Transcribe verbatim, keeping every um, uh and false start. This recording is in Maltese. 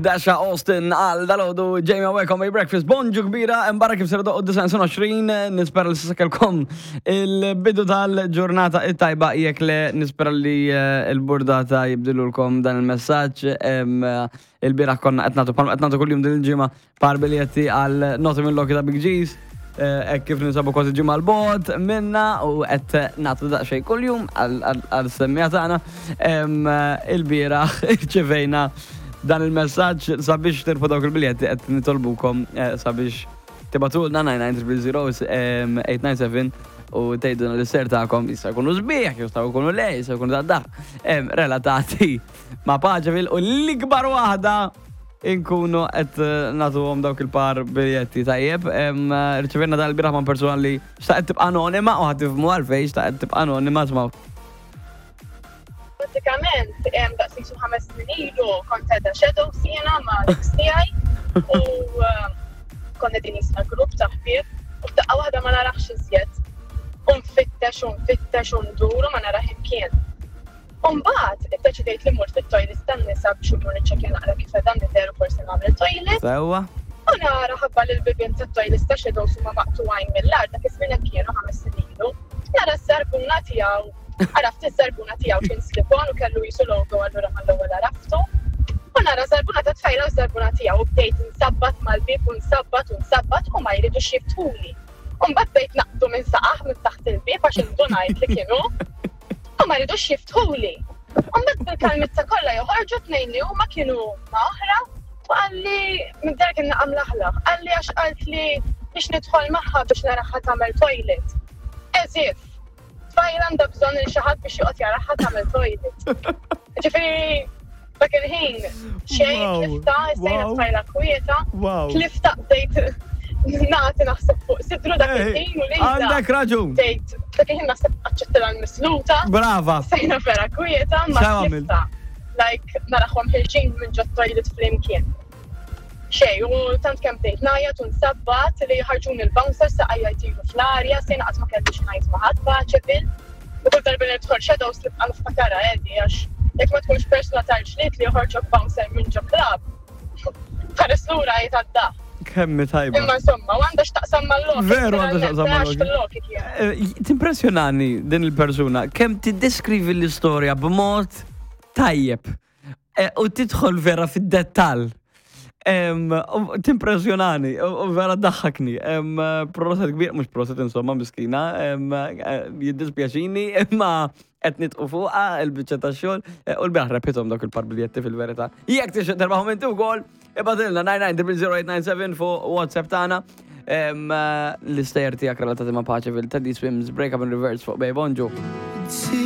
Dasha Austin għal dalgħodu Jamie Welcome my breakfast. Bonġu kbira, imbarra kif ser doqgħod disgħa u għoxrin, nispera li s'issa kellkom il-bidu tal-ġurnata it-tajba. Jekk le, nispera li eh, il-burdata jibdilulkom dan il-messaġġ. Il-bieraħ konna qed nagħtu, qed nagħtu kuljum din il-ġimgħa, par biljetti għal Noti minn Loki ta' Big G's. Hekk kif ninsabu kważi ġimgħa 'l bogħod minna u qed nagħtu daqsxejn kuljum għal-semmija tagħna. Il-bieraħ irċevejna dan il-messaġġ: sabiex tirbħu dawk il-biljetti qed nitolbukom eh, sabiex tibagħtulna nine nine zero zero eight nine seven u tgħidulna l-istejjer tagħkom, jista' jkunu sbieħ, jistgħu jkunu le, jista' jkunu tad relatati ma' Paċeville, u l-ikbar waħda inkunu qed nagħtuhom dawk il-par biljetti, tajjeb. Rċevejna dal-bieraħ ma' persuna li xtaqet tibqa' anonima u ħa tifhmu għalfejn xtaqet tibqa' anonima. Smgħu. Pratikament, daqs ħames snin ilu kont qiegħda Shadows jiena ma' l-ex tiegħi u konna din jisna grupp ta' ħbieb u f'daqqa waħda ma narax iżjed. U nfittex u nfittex u ndur u ma narax imkien. Umbagħad, iddeċidejt li mort fit-toilet tan-nisa biex imur niċċekkja naqra kif qed nidher u forsi nagħmel toilet. Sewwa. U nara ħabba li l-bibien tat-toilet ta' Shadows huma maqtugħin mill-art, dak iż-żmien hekk kienu, ħames snin ilu. Nara s-sarbuna tiegħu, għaraft is-sarbuna tiegħu, kien slip-on u kellu jisu logo, allura mal-ewwel għaraftu. U nara sarbuna ta' tfajla u sarbuna tiegħu u bdejt nsabbat mal-bib u nsabbat u nsabbat u ma jridux jiftħuli. U mbagħad bdejt naqbdu minn saqajh minn taħt il-bib għax indunajt li kienu. U ma jridux jiftħuli. U mbagħad bil-kalmizza kollha joħorġu tnejn li huma kienu ma' oħra u qalli minn dak kien naqam laħlaħ. Qalli għax qalt li biex nidħol magħha biex naraha tagħmel toilet. As if tfajla għandha bżonn il xi ħadd biex joqgħod jaraha tagħmel toilet. Ġifieri dak il-ħin xejn, tlifta, sejna tfajla kwieta, tlifta, bdejt nagħti naħseb fuq sidru dak il-ħin u li Għandek raġun. Bdejt dak il-ħin naħseb aċċettila l-misluta. Brava. Sejna vera kwieta, ma tlifta. Like, narahom ħerġin minn ġo toilet flimkien. Xej, u tant kemm bdejt ngħajjat u nsabbat li ħarġuni l-bouncer, saqajja jtiru fl-arja, sejna qatt ma kelli ngħid ma' ħadd Paċeville. U kull darba nidħol Shadows nibqa' niftakarha edi, għax jekk ma tkunx persuna tal-ġlied li joħorġok bouncer minn ġo club, tħares lura jitgħadda. Kemm tajba. Imma insomma, u għandha x'taqsam mal-Loki. Veru għandha x'taqsam mal-Loki. Mal-Loki. Eh, Timpressjonani din il-persuna, kemm tiddeskrivi l-istorja b'mod tajjeb eh, u tidħol vera fid-dettall. Timpressjonani, u vera daħħakni. Proset kbir, mhux proset insomma, miskina, eh, jiddispjaċini, imma qed nitqu fuqha il-biċċa tax-xogħol u l-bieraħ rebħithom dawk il-par biljetti fil-verità. Jekk tixtieq terbaħhom inti wkoll, ibagħtilna nine nine zero zero eight nine seven fuq WhatsApp tagħna. L-istejjer tiegħek relatati ma' Paċeville. Teddy Swims, Break Up in Reverse fuq Bay. Bonġu.